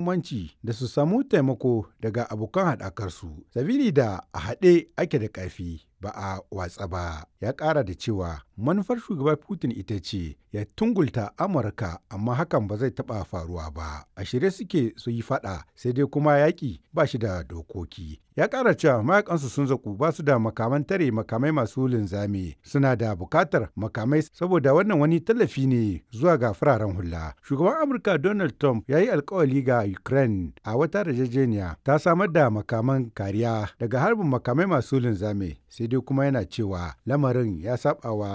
Muhimmanci da su samu taimako daga abokan haɗakarsu, sabili da a haɗe ake da ƙarfi ba a watse ba. Ya ƙara da cewa manufar Shugaba Putin ita ce ya tungulta Amurka amma hakan ba zai taɓa faruwa ba. A shirye suke su yi faɗa, sai dai kuma yaƙi ba shi da dokoki. Ya ƙara cewa mayakansu sun zaƙu ba su da makaman tare makamai masu linzami, suna da buƙatar makamai saboda wannan wani tallafi ne zuwa ga fararen hula. Shugaban Amurka Donald Trump ya yi alkawali ga Ukraine a wata yarjejeniya ta samar da makaman kariya daga harbin makamai masu linzami, sai dai kuma yana cewa lamarin ya saɓawa